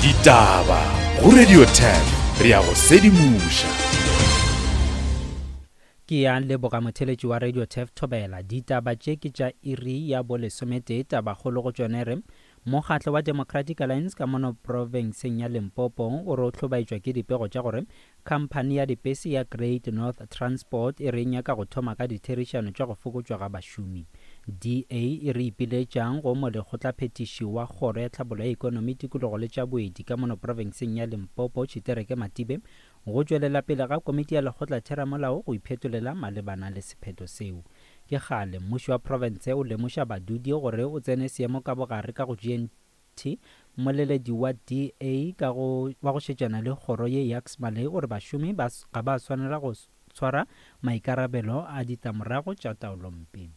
Ditaba go Radio 10 re a go sedimoša. Ke ya leboga motheletši wa Radio Tef Thobela. Ditaba tše ke tša iri ya bolesometee. Tabakgolo go tšone re, Mokgatlo wa Democratic Alliance ka mono profenseng ya Limpopo o re o hlobaetšwa ke dipego tša gore khamphani ya dipese ya Great North Transport e re e nyaka go thoma ka ditherišano tša go fokotšwa ga bašomi. DA e re ipiletšang go molekgotlaphethiši wa Kgoro ya Tlhabollo ya Ekonomi, Tikologo le tša Boeti ka mono profenseng ya Limpopo, Tshitereke Matibe, go tšwelela pele ga komiti ya lekgotlatheramolao go iphetolela malebana le sephetho seo. Ke kgale mmušo wa profense o lemoša badudi gore o tsene seemo ka bogare ka go GNT. Mmoleledi wa DA ka go wa go šetšana le kgoro ye Jacques Malay o re bašomi ba ga ba swanela go tshwara maikarabelo a ditlamorago tša taolompe.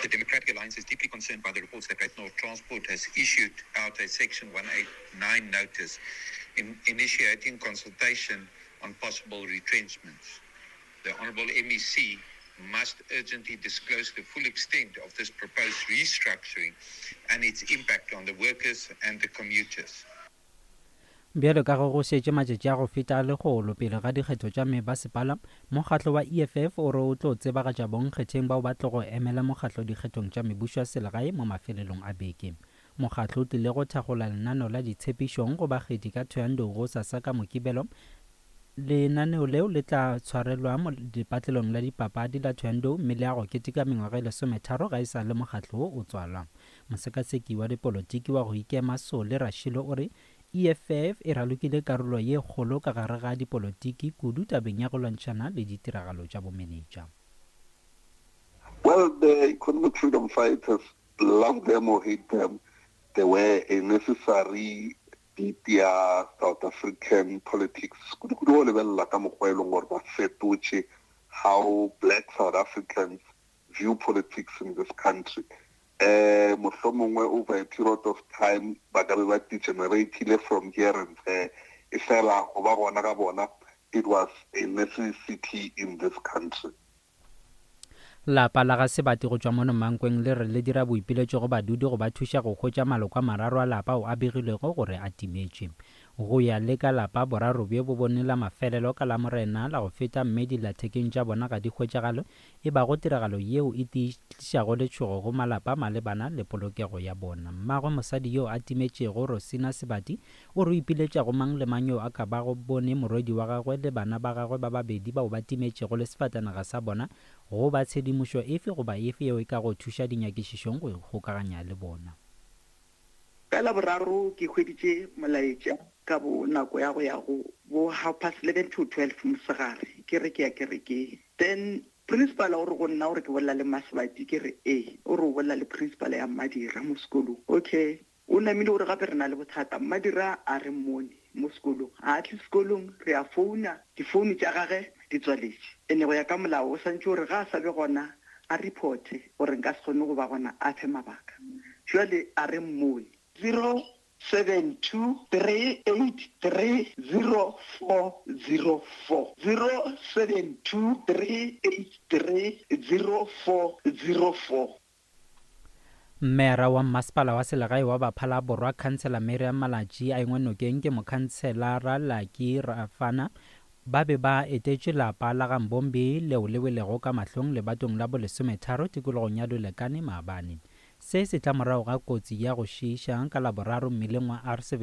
The Democratic Alliance is deeply concerned by the reports that Great North Transport has issued out a Section 189 notice in initiating consultation on possible retrenchments. The Honourable MEC must urgently disclose the full extent of this proposed restructuring and its impact on the workers and the commuters. Bjalo ka ge go šetše matšatši a go feta a lekgolo pele ga dikgetho tša mebasepala, mokgatlo wa EFF o re o tlo tsebagatša bonkgetheng bao ba tlogo emela mokgatlo dikgethong tša mebušo ya selegae mo mafelelong a beke. Mokgatlo o tlile go thakgola lenaneo la ditshepišong go bakgethi ka Thohoyandou gosasa ka Mokibelo Lenaneo leo le tla tshwarelwa lepatlelong la dipapadi la Thohoyandou mme le ya go keteka mengwaga e lesometharo ga e sa le mokgatlo wo o tswalwa. Mosekaseki wa dipolotiki wa go ikema Solly Rashilo o re EFF e ralokile karolo ye kgolo ka gare ga dipolotiki kudu tabeng ya go lwantšhana le ditiragalo tša bomenetša. Well, the economic freedom fighters, love them or hate them, they were a necessary beat ya South African politics kudu-kudu go lebelela ka mokgwa e leng gore ba fetotše how black South Africans view politics in this country. Eh, mohlomongwe over a period of time ba ka be ba degeneratile from here and there, e fela go ba gona ga bona it was a necessity in this country. Lapa la ga Sebati go tšwa mono Mankweng le re le dira boipiletšo go badudi go ba thuša go hwetša maloko a mararo a lapa ao a begilwego gore a timetše. Go ya le ka lapa, boraro bjo bo bone la mafelelo ka Lamorena la go feta mme dillathekeng tša bona ga di hwetšagale, e bago tiragalo yeo e tiišago letšhogo go malapa malebana le polokego ya bona. Mmagwe mosadi yo a timetšego, Rosina Sebati, O re o ipiletša go mang le mang yo a ka bago bone morwedi wa gagwe le bana ba gagwe ba babedi bao ba timetšego le sefatanaga sa bona goba tshedimošo efe goba efe yeo e kago thuša dinyakišišong go ikgokaganya le bona. Ka Laboraro ke hweditše molaetša ka bo nako ya go ya go bo half past eleven to twelve mosegare ke re ke ya kerekeng. Then principal o re go nna o re ke bolela le Mmasebati ke re ee, o re o bolela le principal ya Mmadira mo sekolong. Okay, O namile o re gape re na le bothata. Mmadira a re mmone mo sekolong. Ga a tle sekolong, re a founa, difounu tša gage di tswaletše. Ene go ya ka molao o santše o re ga a sa be gona a reporte gore nka se kgone go ba gona a fe mabaka. Bjale a re mmone. 072 383 0404. 072 383 0404. Mmeara wa Mmasepala wa Selegae wa Baphala-Borwa Khansela Miriam Malatji a engwe nokeng ke mokhanselara Lucky Rafana ba be ba etetše lapa la ga Mbombi leo le welego ka mahlong lebatong la bolesometharo tikologong ya Lulekane maabane. Se se tla morago ga kotsi ya go šiiša ka Laboraro mmileng wa R75.